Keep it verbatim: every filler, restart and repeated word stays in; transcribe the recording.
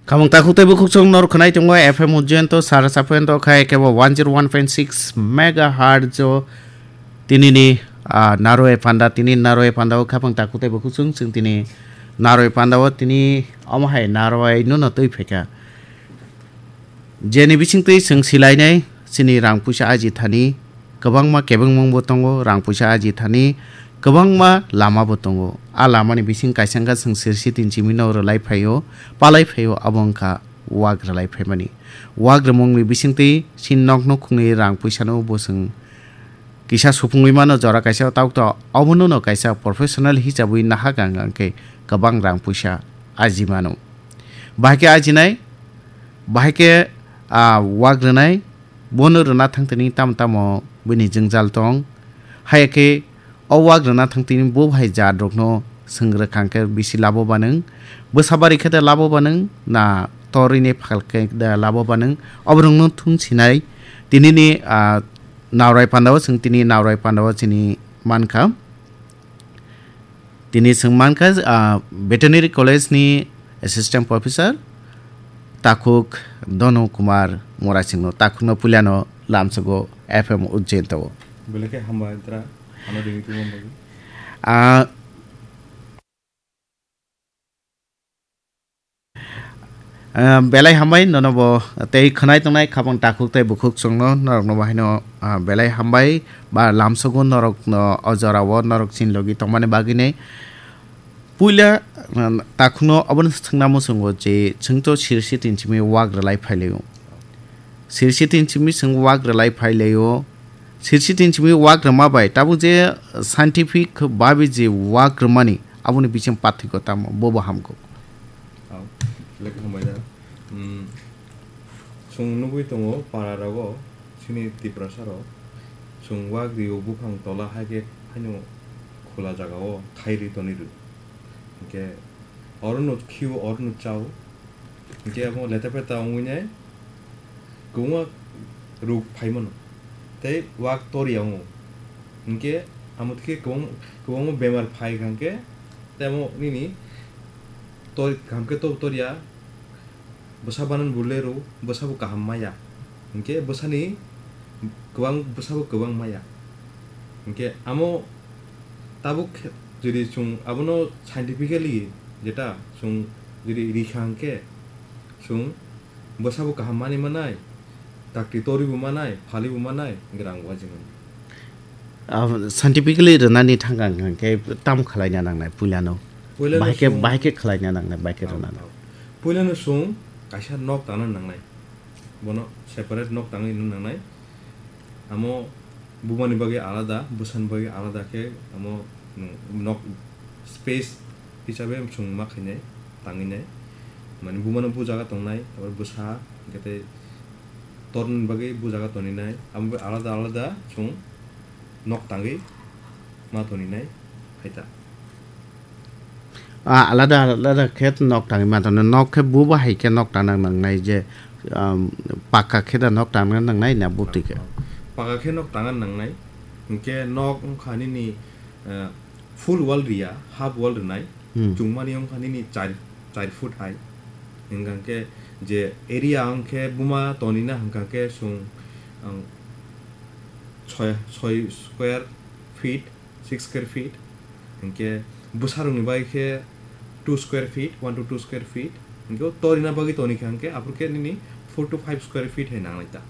Khamung takhuk tei bukhuk chwng nor khwnai tongo F M Ujjain to sara saphen to khai kebo one zero one point six megahertz o tinini, ah, naroi panda, tini naroi panda o khamung takhuk tei bukhuk chwng chwng tini naroi panda o tini omo hai naroi no no twi phaikha. Jeni bisingtwi chwng silainai chini rang puisa aji thani, kwbangma kebengmungbo tongo, rang puisa aji thani kwbangma lamabo tongo. A lamani bising kaisa wngkha chwng sirsi tin chimino rwlai phaio, palai phaio, abo wngkha wak rwlai phaimani. Wak rwmungni bisingtwi chini nok nukhungni rang puisano bo chwng kisa supungwi mano jora kaisa, tabuk to obono no kaisa professional hisabwi nahak ang khe kwbang rang puisa aji mano. Bahai khe ajinai, bahai khe, ah, wak rwnai, bono rwna thang tini tamo tamo bini jwngjal tong. Haiya khe o wak rwna thang tini bo bahai jat rokno swng rwkha hwnkhe bisi labo banwng, bwsa bari khe da labo banwng, na torwi ni phal khe da labo banwng, oborokno thung sinai tinini, ah, Naurai pandao, chwng tini Naurai pandao chini mankha. Tini chwng mankha, ah, Veterinary College ni Assistant Professor takhuk Donu Kumar Murasingno, takhukno puilano lamsogo F M Ujjain tao. Belai khe hambai, tra, ano ringwi tongma bagwi. Ah, Ah, belai hambai nono bo tei khwnai tongnai khabang takhuk tei bukhuk chwngno norokno bahaino, ah, belai hambai ba lamsogo norokno o jorao norok chini logi tongmani bagwini. Puila, ah, takhukno obono swngna muchungo je chwngto sirsi tin simi wak rwlai phailaio. Sirsi tin simi chwng wak rwlai phailaio. Sirsi tin simi wak rwma bai tabuk je scientific babi je wak rwmani aboni bising pathwiko tamo bobo hamkuk. Ang lekha hambai da. Hmm, chwng nugwi tongo para rogo, chini Tiprasa rok. Chwng wak rio buphang tola hai khe haino khula jagao khai ri toni ru. Hinkhe oro no khio, oro no chao. Hinkhe abo leta peta wngwi nai kwbangma ruk phai mano. Tei wak toriya wngo. Hinkhe amo khe kwbang-, kwbangma bemar phai kha hinkhe tei amo nini tor-, kaham khe tor-, toriya. Bwsa banan bo lerw, bwsa bo kaham maya. Hinkhe bwsani kwbang, bwsa bo kwbang maya. Hinkhe amo tabuk khe, jodi chwng abono scientifically jeta chwng jodi rikha hinkhe chwng bwsa bo kaham mani manai, dakti tori bo manai, phali bo manai, hinkhe rang bo waji mano. Ah, scientifically rwnani thangkha hinkhe tam khwlaina nangnai puilano? Puilano Bahai khe, chwng bahai khe khwlaina nangnai, bahai khe Tamo, rwnani. tamo. Puilano chwng kaisa nok tangna nangnai. Bono separate nok tangwi nung nangnai. Amo bumani bagwi alada, bwsani bagwi alada khe amo nok space hisabe chwng ma khainai, tangwi nai. Mane bumano bu jaga tongnai, tabuk bwsa, hinkhe tei tornani bagwi bu jaga toninai. Amo alada alada chwng nok tangwi ma toninai, hai ta. Ah, alada alada khe nok tangwi ma tono. Nok khe bo bahai khe nok tangna nangnai je, um, pakka khe da nok tangna nangnai na bwtwi khe? Pakka khe nok tangna nangnai. Hinkhe nok wngkha nini, eh, full wall riya, half wall rwnai. Hmm. Chwngmani wngkha nini char, char foot hai. Hinkha khe je area wngkhe buma tonina hinkha khe chwng, ang, soi, soi square feet, six square feet, hinkhe bwsarokni bai khe two square feet, one to two square feet, hinkhe o torina bagwi toni kha hinkhe aphuru khe nini four to five square feet hai nangnai ta.